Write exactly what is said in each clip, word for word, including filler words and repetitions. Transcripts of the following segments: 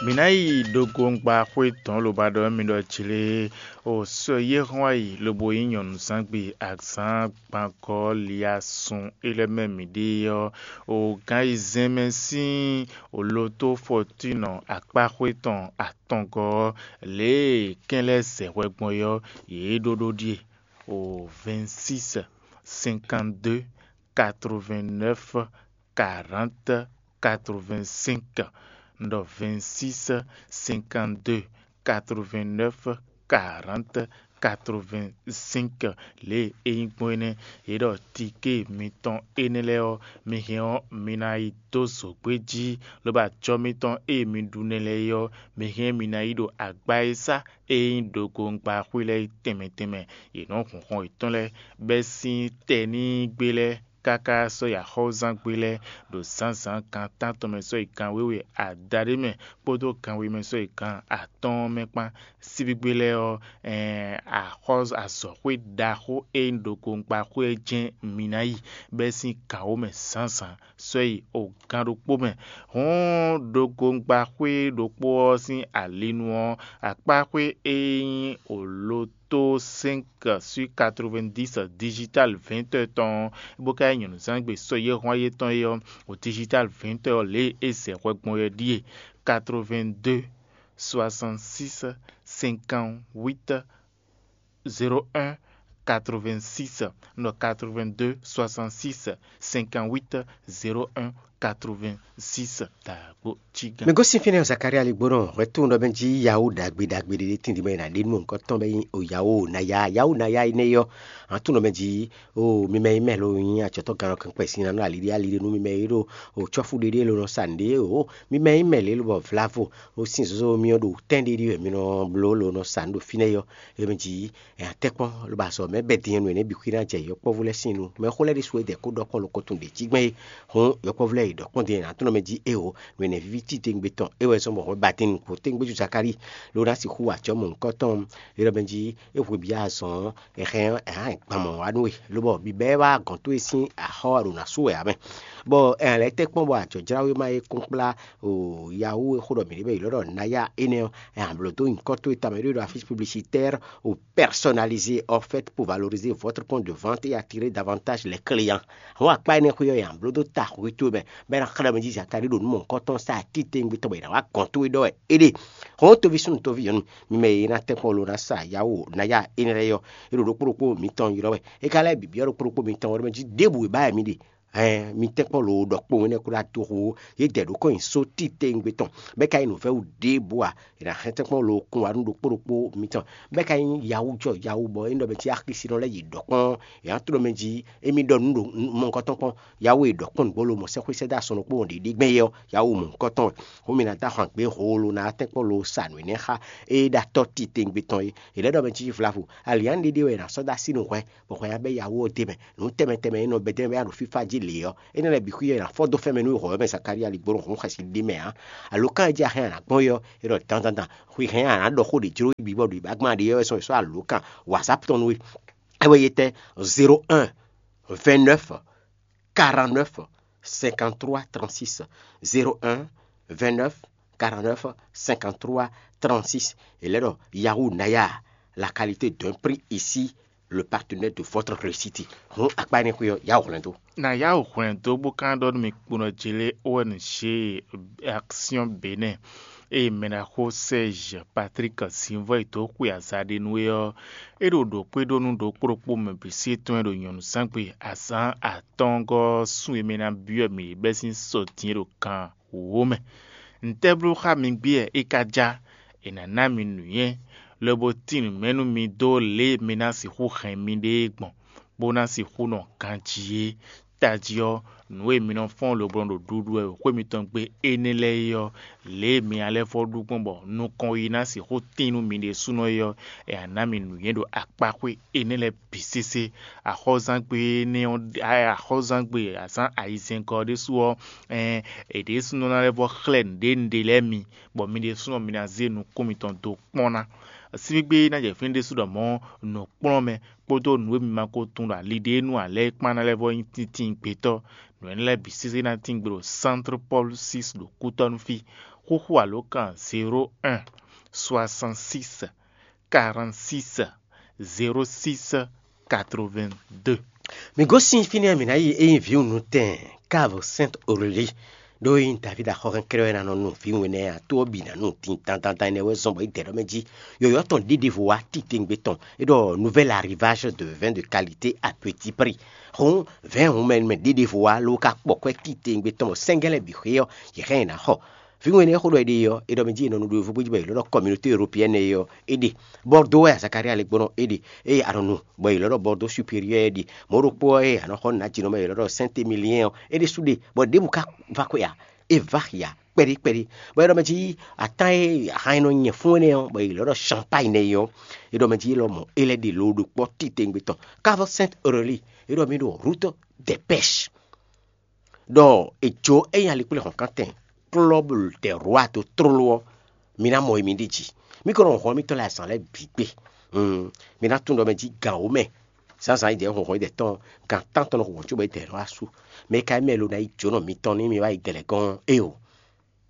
Mǐ ná yi ɖogongba xwé tɔn lobo ɖɔ mì ɖɔ jlé o sɔ yé hɔn ayi lobo nyí nyɔ̌nuzangbe azǎn gbangɔ́ liasun é lɛ́ɛ mɛ mǐ ɖe ɔ́, o gǎn ayizɛ́n mɛ sín o lotó fɔtínɔ akpáxwé tɔn atɔngɔ́ ɔ́, lě e kɛ́n lɛ́ɛ zɛ hwɛ gbɔn é ɔ́, yě ɖó ɖó ɖíe: o vingt-six, cinquante-deux, quatre-vingt-neuf, quarante, quatre-vingt-cinq. Un ɖɔ vingt-six, cinquante-deux, quatre-vingt-neuf, quarante, quatre-vingt-cinq. Lě e é nyí gbɔn énɛ́, yě ɖɔ tiké mitɔn énɛ́ lɛ́ɛ ɔ́, mi hɛn ɔ́, mi ná yi dó zǒgbé jí, lobo acɔ́ mitɔn e mi ɖu nɛ́ lɛ́ɛ é ɔ́, mi hɛn mi ná yi ɖo agba e sá e nyí ɖogongba xwé lɛ́ɛ é tɛnmɛ tɛnmɛ. Yě nɔ́ hun xɔn yětɔn lɛ́ɛ bɛ́ sín tɛnígbe lɛ́ɛ káká sɔ́ yi axɔ́zángbé lɛ́ɛ ɖo zǎnzǎn gan tántɔn mɛ sɔ́ yi gan wěwe adaɖé mɛ kpódó gan we mɛ sɔ́ yi gan atɔ́ɔ́n mɛ kpán. Síbígbe lɛ́ɛ ɔ́, ɛɛn axɔ́ azɔ̌xwé ɖaxó e nyí ɖokpowungbáxwé ɔ́ jɛ́n mi ná yi bɛ́ sín gan wǒ mɛ zǎnzǎn sɔ́ yi o gan ɖokpó mɛ. Hǔn ɖokpowungbáxwé ɖokpó ɔ́ sín alinu ɔ́, akpáxwé e nyí oló tó cinq sur quatre-vingt-dix digital vingt heures tɔn ɔ́, bó ka nyí nyɔ̌nuzangbe sɔ́ yɛ́hɔ́n yětɔn é ɔ́, o digital vingt heures lě e é zɛ hwɛ gbɔn é ɖíe: quatre-vingt-deux, soixante-six, cinquante-huit, zéro un, quatre-vingt-six. Un ɖɔ quatre-vingt-deux, soixante-six, cinquante-huit, zéro un, quatre-vingt-six. Dǎgbó cí gán. Mi gosín fínɛ́ Zakaria ligbónɔ hwɛtún ɖɔ mɛ jí yawu ɖagbe ɖagbe ɖé tíndín mɛ ná ɖe nú nukɔn tɔn bɛ nyí o yawu naya yawu naya énɛ́ yɔ. Hantún ɖɔ mɛ jí o mi mɛ yi mɛ lo nyí atsɔtɔ gannɔ kɛnkpɛ sín nanú aliɖí aliɖí nú mi mɛ yi ɖo o tsɔ́fú ɖéɖé lo nɔ sa nǔɖé o mi mɛ yi mɛ lě lobɔ vlavo o sín zozo mi ɔ́ ɖo tɛ́n ɖéɖé wɛ mi nɔ bló lo nɔ sa nǔ ɖo fínɛ́ yɔ. É mɛ jí ɛ atɛ́kpɔ́n lobo azɔ mɛ bɛ din nú énɛ́ bǐ xwí ná jɛ yɔkpɔ́vú lɛ́ɛ sín nu. Mɛ xó lɛ́ɛ ɖésú é dɛ kó ɖɔ kpɔ́n lo ko tun ɖě jí gbɛn é. Hɔn yɔkpɔ́vú lɛ́ɛ yi ɖɔ kpɔ́n din ná tɔ́n mɛ jí é o nú énɛ́ víví titewungbe tɔn é wɛ zɔ́n bɔ hwɛ ba din nukún tewungbe jú Zakalíi ló ná sixú wá acɔ́ mɔ̌hunkɔtɔn. É ɖɔ mɛ jí é hwe bǐ azɔn ɛ hɛn ɛ hán gban mɔ̌ wá nú we lobɔ bǐbɛ́ wá gɔ̌n towe sín axɔ́ ɖo ná sú wɛ ǎ mɛ. Bɔ ɛ lɛ́ tɛ́ kpɔ́n bɔ ajɔ̌jláwéma e kún kplá o yawu e xó ɖɔ mǐ ɖe bɛ yi lɔ ɖɔ naya énɛ́ ɔ́, ɛ amblǒ dó nyǐkɔ towe tamɛ ɖó ɖo affiche publicitaire o personnalisé en fait pour valoriser votre point de vente et attirer davantage les clients. Àwọn akpá énɛ́ xwé ɔ́, ɛ amblǒ dó ta xwé towe mɛ bɔ é ná xlɛ́ mɛ jí Zakalíi ɖo nǔ mɔ̌hunkɔtɔn sa títewungbe tɔn bɔ è nǎ wá gɔ̌n towe ɖɔ wɛ é ɖe. Hɔn tóví súnnu tóví nyɔ̌nu, mi mɛ e ná tɛ́nkpɔ́n lo ná sa yawu naya énɛ́ lɛ́ɛ ɔ́, é ɖo ɖokpó ɖokpó mitɔn ylɔ́ wɛ. É ka lɛ́ bǐ byɔ́ ɖokpó ɖokpó mitɔn wɛ ɖɔ mɛ jí ɖěbǔ e ba wɛ mi ɖe. Hɛn mi tɛ́nkpɔ́n lo ɖɔ kpowun énɛ́ kó ɖó adó xo, yě dɛ ɖǒ kɔn nyi só títewungbe tɔn, bɔ é ka nyí nǔvɛ́wú ɖěbǔ ǎ. È nǎ hɛn tɛ́nkpɔ́n lo kún wá nú ɖokpó ɖokpó mitɔn, bɔ é ka nyí yawu jɔ yawu bɔ é nɔ mɛ cí axisínɔ lɛ́ɛ yi ɖɔ kpɔ́n. È nǎ tló mɛ jí émí ɖɔ nǔ ɖo mɔ̌hunkɔtɔn kpɔ́n. Yawu e ɖɔ kpɔ́n nǔgbó lo mɔ sɛ́xwé sɛ́dó asɔn ɖokpó ɖě ɖe gbɛn é ɔ́, yawu mɔ̌hunkɔtɔn wɛ. Hǔn mi ná dó ahwan gbě hoo lo ná tɛ́nkpɔ́n lo sa nǔ énɛ́ xá é ɖo atɔ́ titewungbe tɔn é. È lɛ́ ɖɔ mɛ cí vlavo. Aliǎn ɖéɖé wɛ è nǎ sɔ́ dó así nú hwɛ, bɔ hwɛ ná bɛ́ yawu ɔ́ d'é mɛ. Nǔ tɛnmɛ tɛnmɛ e nɔ bɛ́ dɛ́ bɛ ɖo fífá jí lě ɔ́, énɛ́ lɛ́ɛ bǐ xwí ɔ́ è nǎ fɔ́n dó fɛ́n mɛ nú hɔ̌ mɛ Zakalía ligbónɔ hǔn xɛsi ɖé mɛ ǎ. Alǒkan e jí a hɛn a nǎ gbɔn é ɔ́, é ɖɔ dandandan, xwi hɛn a nǎ ɖɔ xó ɖě jló bǐ bɔ ɖo ìbágbán ɖě ɔ́ wɛ sɔ́ è sɔ́ alǒkan WhatsApp tɔn nú we. É wɛ yi tɛ́ zéro un, vingt-neuf, quarante-neuf, cinquante-trois, trente-six. Zéro un, vingt-neuf, quarante-neuf, cinquante-trois, trente-six. È lɛ́ ɖɔ Yahoo Naya, la qualité d'un prix ici, le partenaire de votre réussite. Hǔn akpá énɛ́ xwé ɔ́, yá wǔ hwlɛ́n dó. Na yá wǔ hwlɛ́n dó bó ka ɖɔ nú mi kponɔ jlé O N G Action Bénin, eye mɛɖaxó Serge Patrick Zinvɔ e dó xwe azǎn ɖé nú é ɔ́, é ɖo ɖǒ kpé ɖó nú ɖokpó ɖokpó mɛ bǐ sí tɔn e ɖo nyɔ̌nuzángbe azǎn atɔ́ɔ́ngɔ́ sun e mɛ ná byɔ́ mǐ bɛ́ sín sɔ din e ɖo kan wǒ mɛ. Ntɛ́bló xá mi gbé wɛ é ka já? È nǎ ná mi nǔnywɛ́, lobo tín nǔ mɛ nú mi dó lě e mi ná sixú hɛn miɖée gbɔn, bó ná sixú nɔ ganjí é. Tají ɔ́, nǔ e mi nɔ fɔ́n lobo nɔ ɖo ɖuɖu wɛ ɖo xwé mitɔn gbe énɛ́ lɛ́ɛ é ɔ́, lě e mi ná lɛ́ vɔ́ ɖu gbɔn bɔ nukɔn yi ná sixú tín nú mi ɖésúnɔ é ɔ́, è nǎ ná mi nǔnywɛ́ ɖo akpáxwé énɛ́ lɛ́ɛ bǐ sésé. Axɔ́zángbé énɛ́ ɔ́, axɔ́zángbé azǎn ayizɛ́ngɔ́ ɔ́ ɖésú ɔ́, ɛɛn, è ɖésúnɔ ná lɛ́ vɔ́ xlɛ́ nǔɖé nǔɖé lɛ́ɛ mi, bɔ mi ɖésúnɔ mi ná zé nukún mitɔn dó kpɔ́n ná. Síbígbe ná jɛ fínɛ́ ɖésú ɖɔ mɔ̌ nǔkplɔ́nmɛ kpódó nǔ e mi ma ko tunwun ɖɔ ali ɖé nu ǎ lɛ́ɛ kpán ná lɛ́ vɔ nyí tíntín gbetɔ́. Nǔ énɛ́ lɛ́ɛ bǐ sésé ná tín gbe ɖo Centre Paul six ɖo Kútɔ́nú fí. Xúxú alǒkan zéro un, soixante six, quarante six, zéro six, quatre-vingt-deux. Mǐ gosín fínɛ́ mǐ ná yi ényí vǐwunutɛn Cave Sainte Aurélie, ɖó ényí David axɔ́hɛn kɛ́ɖɛ́ wɛ ná nɔ nu vǐwun énɛ́ ǎ, tó ɔ́ bǐ ná nu din dandandan énɛ́ wɛ zɔn bɔ é dɛ ɖɔ mɛ jí. Yɔ̌yɔ́ tɔn ɖěɖěvo wá titewungbe tɔn, é ɖɔ nouvel arrivage de vin de qualité à petit prix. Hǔn vɛ̌ɛn hun mɛ mɛ ɖěɖěvo wá ló ka kpɔ kwɛ́ titewungbe tɔn bɔ sɛ́ngɛ́ lɛ́ɛ bǐ xwé ɔ́, yě hɛn yě ná xɔ. Vǐwun énɛ́ xó ɖɔ è ɖe ɔ́, è ɖɔ mɛ jí è nɔ nu ɖo yovógbó jí bɔ è lɔ́ ɖɔ communauté européenne é ɔ́, é ɖe. Bordeaux wɛ Zakaria lɛ́ gbɔn ɔ́, é ɖe. Eye a nɔ nu bɔ è lɔ́ ɖɔ Bordeaux supérieur é ɖi. Mɔ̌ ɖokpó ɔ́, eye a nɔ xɔ nǔ ná jǐnɔ mɛ è lɔ́ ɖɔ Saint Émilien ɔ́, é ɖésú ɖe, bɔ ɖěbǔ ka va xwe ǎ, é va xi ǎ kpɛɖí kpɛɖí. Bɔ è ɖɔ mɛ jí atán e ahan e nɔ nyɛ fún énɛ́ ɔ́, bɔ è lɔ́ ɖɔ Champagne nɛ́ é ɔ́, è ɖɔ mɛ jí é lɔmɔ̌ é lɛ́ ɖe lo ɖo kpɔ́ titewungbe tɔn. Cave Sainte Aurélie, é ɖɔ mì ɖo route des pêches. Ɖɔ è jó ényí alikplé hɔ̌nkántɛn klɔ́ bó ɖɛ rwa dó tlóló ɔ́, mi ná mɔ e mi ɖi jí. Mi ko nɔ hɔn mitɔn lɛ́ɛ azǎn lɛ́ɛ bǐ gbe. Mi ná tunwun ɖɔ mɛ jí gǎn wǒ mɛ zǎnzǎn yi dɛ̌ hɔnhɔn yi dɛ̌ tɔn gan tántɔn nɔ hɔn cóbɔ yi dɛ̌ nɔ wá sú. Mɛ e ka nyí mɛ lo ná yi jǒnɔ mitɔn ní mi wá yi dɛ̌ lɛ́ɛ gɔ́n éeǒ.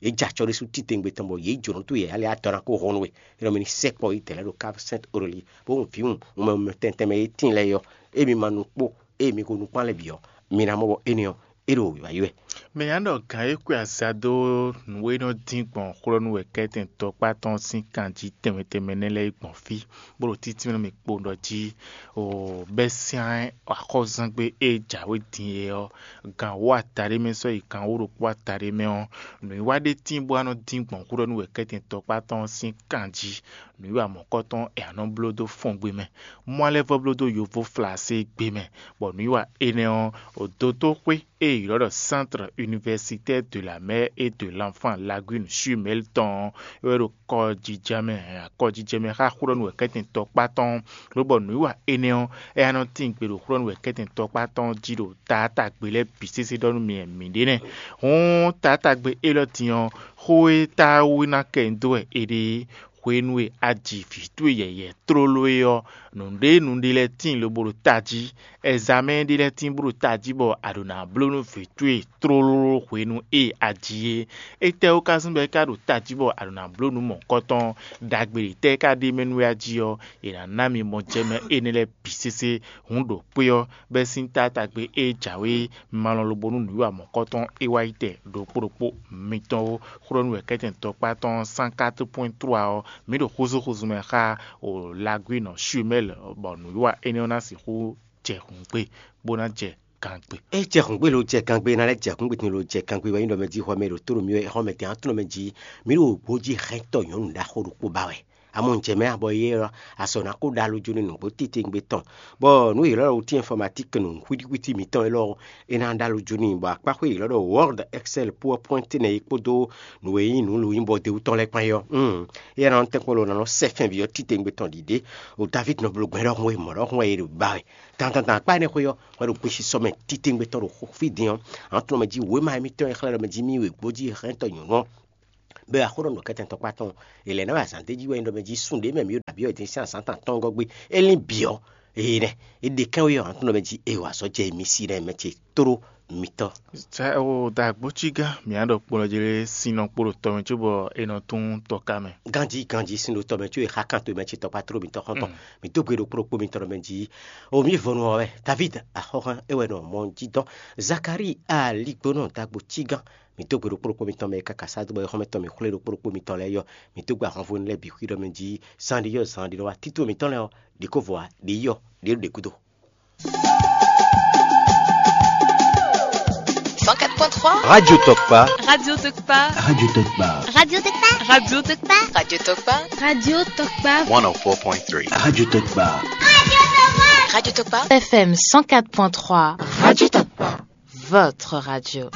Yě jɛ acɔ ɖésú titewungbe tɔn bɔ yě jǒnɔ tó yě alɛ atɔ ná kó hɔn nú we. É nɔ mɛ ní sɛkpɔ yi dɛ̌ lɛ́ɛ ɖo Cave Sainte Aurélie, bó hun vǐwun mɛ tɛntɛn mɛ e tíin lɛ́ɛ ɔ́, ée mi ma nu kpó ée mi ko nukpán lɛ́ɛ bǐ ɔ́, mi ná mɔ bɔ énɛ́ ɔ́, é ɖo wǐwá yi wɛ. Mɛ nya ɖɔ gǎn e kwe azǎn dó nǔ e nɔ dín gbɔn xwlɔ́nú wɛ kɛ́tɛn tɔkpá tɔn sín kan jí tɛnmɛ tɛnmɛ nɛ́ lɛ́ɛ yi gbɔn fí, bó ɖo títí nú mì kpo ɖɔ jí o bɛ́ syán axɔ́zángbé e jǎwe din é ɔ́, gan wǒ ataɖé mɛ sɔ́ yi gan wǒ ɖokpó ataɖé mɛ ɔ́, nǔwiwa ɖé tíin bó wá nɔ dín gbɔn xwlɔ́nú wɛ kɛ́tɛn tɔkpá tɔn sín kan jí. Nǔwiwa mɔ̌kɔtɔn e a nɔ bló dó fɔngbe mɛ, mɔ alɛ́ vɔ bló dó yovó flaségbé mɛ, bɔ nǔwiwa énɛ́ ɔ́, dotóxwé e è ylɔ́ ɖɔ Centre Universitaire de la Mère et de l'Enfant Lagune Chumel tɔn ɔ́, é wɛ ɖo kɔjijɛ mɛ, kɔjijɛ mɛ xá xwlɔ́nú wɛ kɛ́tɛn tɔkpá tɔn, lobɔ nǔwiwa énɛ́ ɔ́, é wá nɔ tín gbe ɖo xwlɔ́nú wɛ kɛ́tɛn tɔkpá tɔn jí ɖo taátagbe lɛ́ɛ bǐ sésé ɖɔ nú mi wɛ mǐ ɖe nɛ́. Hǔn taátagbe élɔ́ din ɔ́, xó e táwú ná kɛ nyi dó wɛ è ɖe é, hwenu e a ji vǐ towe yɛ̌yɛ́ tlóló é ɔ́, nǔɖé nǔɖé lɛ́ɛ tíin lobo ɖo tají. Ɛzamɛ́ ɖé lɛ́ɛ tíin bó ɖo tají bɔ a ɖǒ ná bló nú vǐ towe tlóló hwenu e a ji é. Étɛ́wú ka zɔ́n bɔ é ka ɖo tají bɔ a ɖǒ ná bló nǔ mɔ̌kɔtɔn? Ɖagbe ɖě tɛ́ é ka ɖe mɛ nú we a jí ɔ́, è nǎ ná mi mɔ jɛ mɛ énɛ́ lɛ́ɛ bǐ sésé. Hǔn ɖo kpé ɔ́, bɛ́ sín taátagbe e jǎwe malɔn lobo nú nǔwiwa mɔ̌kɔtɔn é wá yi tɛ ɖokpó ɖokpó mitɔn ó. Xwlɔ́nú wɛ kɛ́tɛn tɔkpá tɔn cent quatre point trois ɔ́, mǐ ɖo xúzúxúzú mɛ xá o Laguine Chumel, bɔ nǔwiwa énɛ́ ɔ́ ná sixú jɛ hǔngbe, bó ná jɛ gangbe. É jɛ hǔngbe lo jɛ gangbe ná lɛ́ jɛ hǔngbe din lo jɛ gangbe wɛ nyí ɖɔ mɛ jí xɔ mɛ ɖo tó ɖo mì wɛ xɔ mɛ din atúnɔ mɛ jí. Mǐ ɖo gbǒ jí hɛntɔ nyɔ̌nu ɖaxó ɖokpó ba wɛ. Amɔ jɛ mɛ abɔ yé ɔ́, azɔ̌ ná kó ɖo alo jó ní nǔgbó titewungbe tɔn, bɔ nǔ yěɖɔ wú tín informatique nǔ xwítíxwítí mǐtɔn élɔ́, é ná ɖo alo jó ní, bɔ akpáxwé yěɖɔ ɖɔ Word, Excel, PowerPoint nɛ é kpódó nǔ e nyí nǔ lǒnyíbɔ d'é wú tɔn lɛ́ɛ kpán é ɔ́, é ná nɔ tɛ́nkpɔ́n lo ná nɔ sɛ fɛnví ɔ́ titewungbe tɔn ɖiɖe. O David nɔ bló gbɛn ɖɔhun e mɔ̌ ɖɔhun wɛ é ɖo ba wɛ. Dandandan akpá énɛ́ xwé ɔ́, hwɛ ɖo gbesisɔ mɛ titewungbe tɔn ɖo xó fí din ɔ́, an tunɔ mɛ jí wěma émítɔn e xlɛ́ ɖɔ mɛ jí mì wě gbó jí hɛntɔ nyɔ̌nu ɔ́. Bɛ axó ɖɔ nǔ kɛtɛn tɔkpá tɔn, è lɛ̌ ná wɛ azǎn d'é jí wɛ nyí ɖɔ mɛ jí sun ɖě mɛ mǐ ɖo ɖo abǐ ɔ́ din sín azǎn tɔn atɔ́ɔ́ngɔ́ gbe. É lín bǐ ɔ́, eye nɛ́, é ɖe kɛ́n wé ɔ́, an tunɔ mɛ jí e wǎ sɔ́ jɛ mi sí nɛ́ mɛ ce tló mitɔn. Sɛ o da gbócígán mǐ á ɖɔ kplɔ́ jí lé sin nɔ kpo ɖo tɔ mɛ cóbɔ è nɔ tún tɔ ká mɛ. Ganjí ganjí sin ɖo tɔ mɛ có è xá kan to mɛ ce tɔkpá tló mitɔn xɔ́ntɔn. Mǐ dó gbe ɖo kplɔ́ kpó mitɔn ɖɔ mɛ jí o mǐ vɔnu ɔ́ wɛ David axɔ́xán é wɛ nɔ mɔ jí dɔn. Zakari aligbónɔ da gbócígán. Mǐ dó gbe ɖo kplɔ́ kpó mitɔn mɛ e káká sá dó bɔ é xɔ́mɛ tɔn mǐ xwlé ɖo kplɔ́ kpó mitɔn lɛ́ɛ yɔ. Mǐ dó gbe ahɔnvú lɛ́ɛ bǐ xwí ɖɔ mɛ jí zan ɖé yɔ zan ɖé nɔ wá títú mitɔn lɛ́ɛ ɔ́, ɖě kó vɔ ǎ, ɖě yɔ, ɖě ɖo ɖě gúdo. Cent quatre point trois. Radio Tokpa. Radio Tokpa. Radio Tokpa. Radio Tokpa. Radio Tokpa. Radio Tokpa. Radio Tokpa. One oh four point three. Radio Tokpa. Radio Tokpa. F M cent quatre point trois. Radio Tokpa. Votre radio.